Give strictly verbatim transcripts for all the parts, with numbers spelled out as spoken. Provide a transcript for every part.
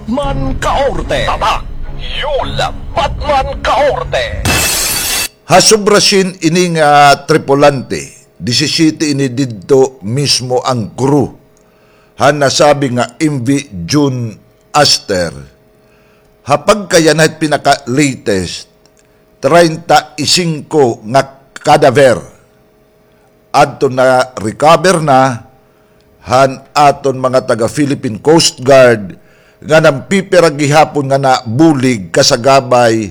Batman Kaorte. Tatak, Yul Batman Kaorte. Ha sobra syen ini nga tripulante, disisiyete ini didto mismo an crew han nasabi nga M V June Aster. Ha pagkayanha hit pinaka-latest, treinta y cinco nga cadaver adto na-recover na han aton mga taga Philippine Coast Guard nga nagpipira gihapon nga nabulig kasagabay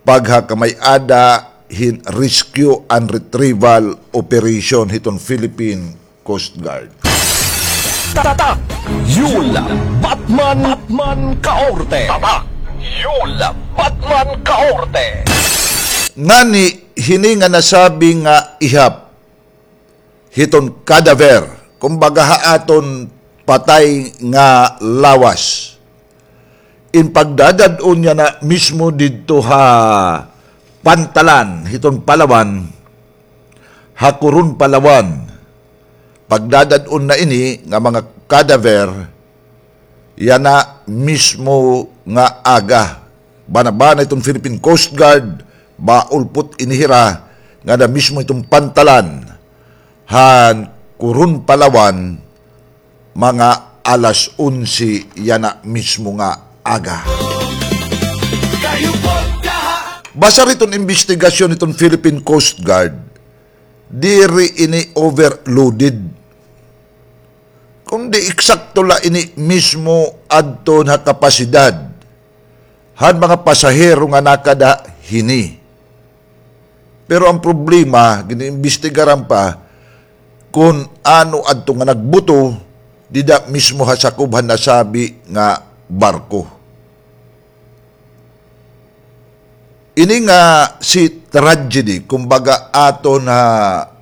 paghakamay-ada hin rescue and retrieval operation hiton Philippine Coast Guard. Tatak, Yul Batman, Batman Kaorte. Tatak, Yul Batman Kaorte. Ngani hini nga nasabi nga ihap hiton cadaver, kumbaga ha aton patay nga lawas, in pagdadad-on yana mismo didto ha pantalan hiton Palawan, ha Coron, Palawan. Pagdadad-on na ini nga mga cadaver yana mismo nga aga. Banabana iton Philippine Coast Guard, maulpot ini hira ngada mismo iton pantalan han Coron, Palawan, mga alas onse yana mismo nga aga. Basar hiton imbestigasyon hiton Philippine Coast Guard, diri ini overloaded, kundi eksakto la ini mismo adto ha kapasidad han mga pasahero nga nakada hini. Pero an problema, gin-imbestigaran pa kon ano adto nga nagbuto dida mismo ha sakob han nasabi nga barko. Ini nga sea tragedy, kumbaga, aton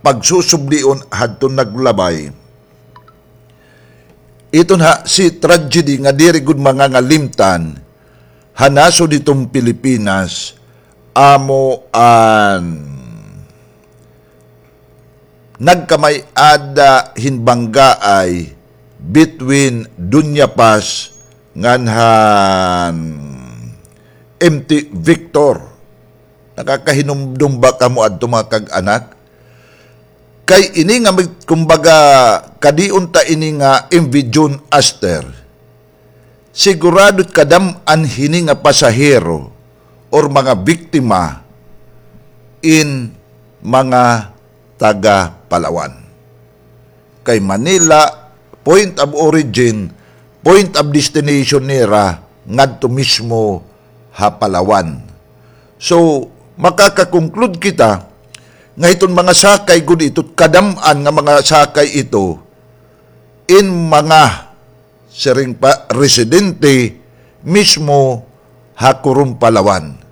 pagsusubdion hadton naglabay. Iton ha sea tragedy nga diri gud mangangalimtan ha nasod hiton Pilipinas, amo an nagkamay-ada hin banggaay between Dunya Pass ngan han M T Victor. Nakakahinumdom ba kamo adto, mga kag-anak? Kay ini nga mig-, kumbaga, kadion ta ini nga M V June Aster, sigurado kadam-an hini nga pasahero or mga biktima in mga taga Palawan. Kay Manila, point of origin, point of destination nira ngadto mismo ha Palawan. So, makaka-conclude kita nga hiton mga sakay gud ito, kadam-an nga mga sakay ito, in mga siring pa, residente mismo ha Coron, Palawan.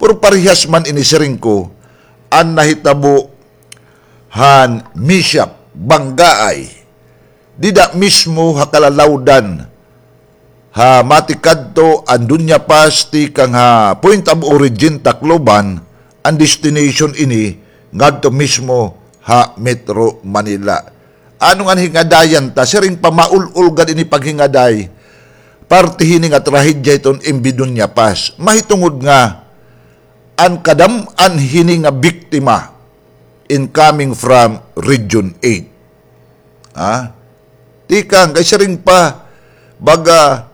Pero parehas man ini, siring ko, an nahitabo han mishap, banggaay, dida mismo ha kalalawdan, ha matikadto an Dunya Pass tikang ha point of origin Tacloban, an destination ini ngadto mismo ha Metro Manila. Ano nga hingadayan ta, siring pa, maul-ol gad ini paghingaday, parte hini nga trahedya hiton M V Dunya Pass. Mahitungod nga an kadam-an hini nga biktima in coming from Region eight. Ha? Tikang, kay siring pa, baga,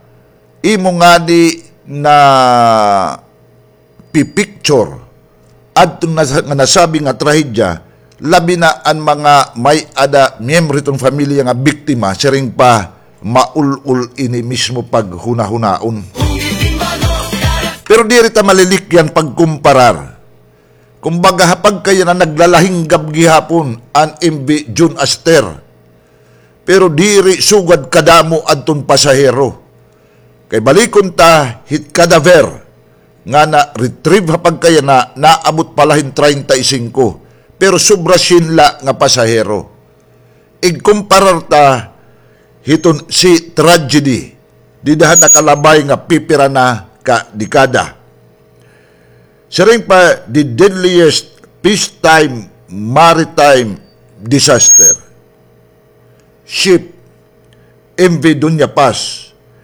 imo ngani na pi-picture adto na sa, nga nasabi nga trahedya, labi na an mga may-ada miyembro hiton pamilya nga biktima, siring pa, maul-ol ini mismo paghunahunaon. Pero diri ta malilikyan pagkumparar. Kumbaga, ha pagkayana, naglalahinggab gihapon an M V June Aster. Pero diri sugad kadamo adton pasahero. Kay balikon ta, hit cadaver nga na-retrieve ha pagkayana, naabot pa la hin treinta y cinco. Pero sobra syen la nga pasahero. Igkumparar ta hiton sea tragedy, dida ha nakalabay nga pipira na ka dekada. Siring pa, the deadliest peacetime maritime disaster. Ship M V Dunya Pass,